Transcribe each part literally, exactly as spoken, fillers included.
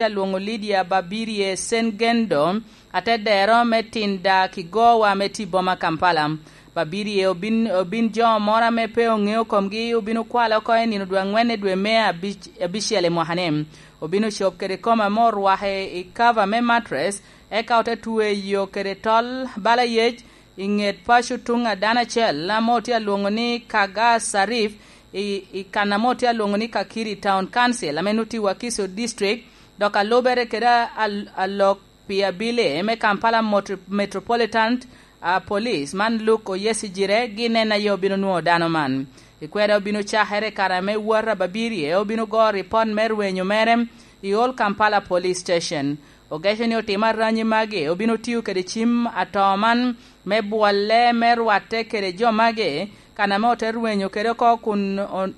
alwoŋo Lydia Babirye Sengendo, atedero me Tinda Kigowa me tye i boma Kampala. Babirye obin, obin jo moro ame pe oŋeo komgi obin okwale oko i nino dwe aŋwen i dwe me abic-, abicel i mwaka-ni. Obin ocop kede kom ame orwake i kava me matres, eka ote tweyo kede tol bala yec i ŋet paco tuŋ a dano acel ame otye alwoŋo ni Kaga Sarif i, i kan ame otye alwoŋo ni Kakiri Town Council, ame nut i Wakiso District, dok alubere kede al-, alok pi abili me Kampala Motro-, Metropolitan, a, Police, man Luke Oyesigire, gin en aye obino nwoŋo dano man. I kwede obino cakere i kare ame wot a Babirye obino goro ripot me rwenyo mere i Old Kampala Police Station. Ogeco ni otimo aranyi magi obino tiyo kede cim atoo man me bwolle me rwatte kede jo magi, kan ame ote rwenyo kede oko kun o-,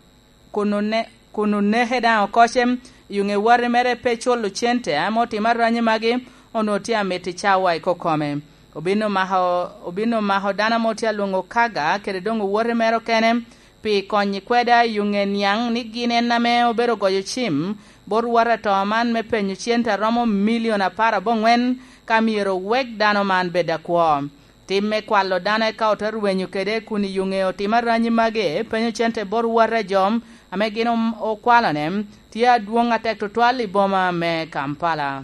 kun one-, kun oneke daŋ okoce, i ŋe wati mere pe culo cente ame otimo aranyi magi, onwoŋo tye amito i cawa i kokome. Obin omako, obin omako dano ame otye alwoŋo Kaga kede doŋ owoti mere okene pi konyo i kweda i ŋe niaŋ ni gin en ame obedo goyo cim bot wot atoo man me penyo cente a romo milion apar aboŋwen ka myero owek dano man bed akwo. Tim me kwalo dano eka ote rwenyo kede kun i ŋe otimo aranyi magi, penyo cente bot wot a jo ame gin om-, okwalone tye adwoŋ atek tutwal i boma me Kampala.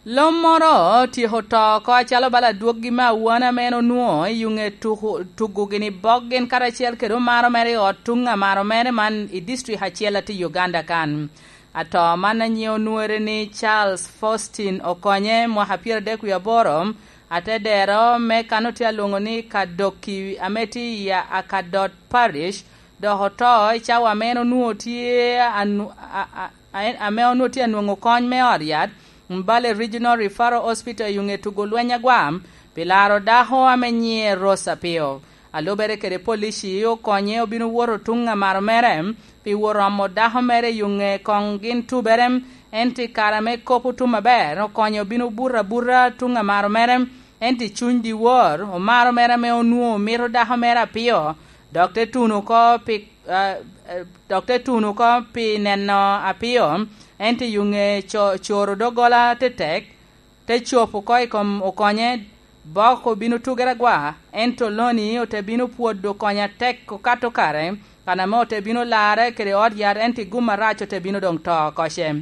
Lom moro otyeko to oko acalo bala adwoggi me awana ame en onwoŋo i ŋe tuku-, tugo gini bok gin karacel kede omaro mere i ot tuŋ amaro mere man i district acel atye i Uganda kan. Atoo man a nyiŋe onwoŋere ni Charles Faustin Okonye, mwaka pyeradek wie aboro, atedero me kan otye alwoŋo ni Kadoki ame tye i Akadot Parish, dok oto i cawa ame en onwoŋo tye anu-, a, a, a, ame onwoŋo tye anwoŋo kony me ot yat, Mbale Regional Referral Hospital i ŋe tugo lweny agwam, pi laro dako ame nyiŋe Rose Apio. A lubere kede polici okonye obino woto tuŋ amaro mere, pi wot omo dako mere i ŋe koŋ gin tubere, ento i kare ame kop otum aber, okonye obino buto abuta tuŋ amaro mere, ento i cuny dyewor, omaro mere ame onwoŋo mito dako mere Apio, dok te tuno oko pi, a, a, dok te tuno oko pi neno Apio, ento i ŋe co-, coro doggola tetek, te copo oko i kom Okonye, bok obino tugere agwa, ento Loni ote bino pwodo Okonye atek okato kare, kan ame ote bino larre kede ot yat, ento i gum arac ote bino doŋ to oko ce.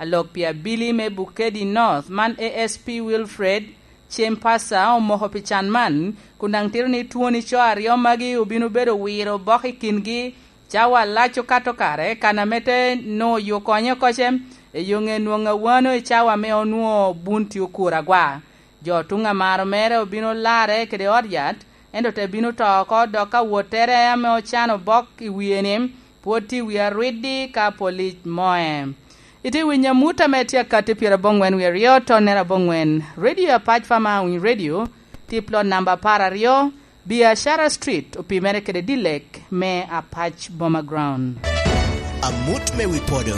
Alok pi abili me Bukedi North, man A S P Wilfred Chempasa, omoko pi can man, kun daŋ tito ni twoni co aryo magi obino bedo wiro bok i kingi, cawa lac okato kare, kan ame te nwoŋo yo konye oko ce, i yo ŋe nwoŋo awano i cawa ame onwoŋo bun tye okuro agwa. Jo tuŋ amaro mere obino larre kede ot yat, ento te bino to oko, dok ka wottere ame ocano bok i wie-ni, pwod tye i wie arwiddi ka polic moe. Itye winyo amut ame tye akatti pyeraboŋwen wie aryo, tonnere aboŋwen. Radio Apac Fama Winy Radio, tye plot namba apar aryo, Biashara Street, opimere kede Dilek me Apac Boma Ground. Amut me wi podo.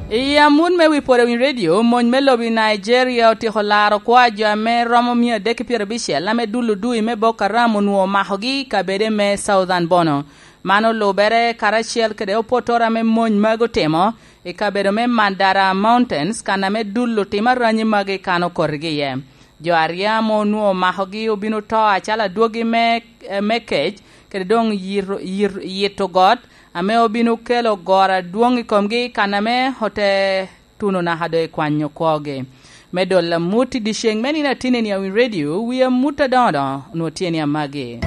I amut me wi podo i radio, mony me lobo i Nigeria otyeko laro kwa jo ame romo mia adek ki pyerabicel ame dul odui me Boko Haram onwoŋo omakogi i kabede me Southern Bono. Man olubere karacel kede opotoro ame mony magi otimo i kabedo me Mandara Mountains, kan ame dul otimo aranyi magi kan okotigi iye. Jo aryo ame onwoŋo omakogi obino to acalo adwogi me, me kec, kede doŋ yito, yir-, yito got, ame obino kelo goro adwoŋ i komgi, kan ame ote tuno naka doŋ i kwanyo kwogi. Me dolo amut i dyeceŋ me nino atinni a Winy Radio, wi amut adoŋo doŋo onwoŋo tye ni amagi.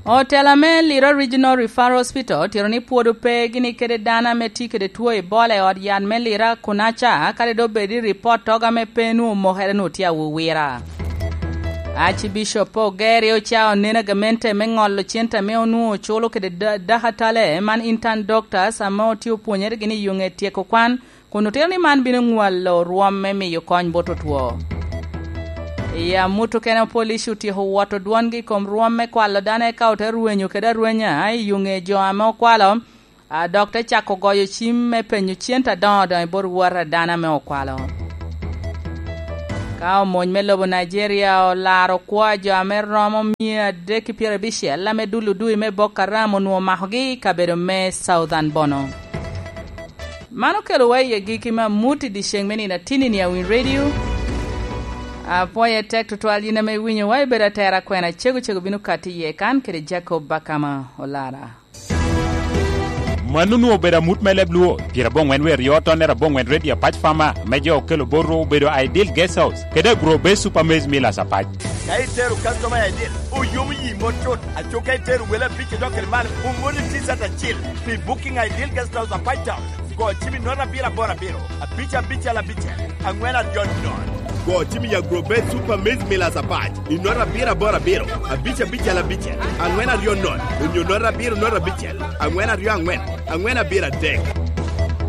Otela me Lira Regional Referral Hospital otito ni pwod ope gini kede dano ame tye kede two Ebola i ot yat me Lira kunaca, kadi doŋ bed i ripot togo ame pe nwoŋo omokere nwoŋo tye awowira. Archbishop Ogeria ocao neno gamente me ŋolo cente ame onwoŋo oculo kede da-, dakatale man intern doctors ame otye opwonyere gini i yo ŋe tyeko kwan, kun otito ni man bino ŋwalo rwom me miyo kony bot otwo. I amut okene, police otyeko woto dwongi i kom rwom me kwalo dano eka ote rwenyo kede arwenya i yo ŋe jo ame okwalo, a, dok te cako goyo cim me penyo cente adoŋo doŋo i bot wot a dano ame okwalo. Ka omony me lobo Nigeria olaro kwo a jo ame romo mia adek ki pyerabicel ame dul odui me Boko Haram onwoŋo omakogi i kabedo me Southern Bono. Man okelowa i agikki me amut i dyeceŋ me nino atinni a Winy Radio. Apwoye tek tutwal yin ame iwinyowa, ibedo atera kwena cego cego bino kati iye kan kede Jacob Bakama Olara. Mano onwoŋo obedo amut me leb Luo, pyeraboŋwen wie aryo tonnere aboŋwen redio Apac Fama, ame jo okelo botwu obedo Ideal Guest House, kede Agro Base Super Maize Millers Apac. Ka itero customer Ideal, oyomo yi mot cut. Aco ka itero wele abic odok kede malo, omoni T-shirt acil pi Booking Ideal Guest House Apac Town. Go cim i note abiro aboro abiro, abic abicel abicel, aŋwen aryo nono. Go cim i Agro Base Super Maize Millers Apac i note abiro aboro abiro, abic abicel abicel, aŋwen aryo nono, onyo note abiro note abicel, aŋwen aryo aŋwen, aŋwen abiro adek.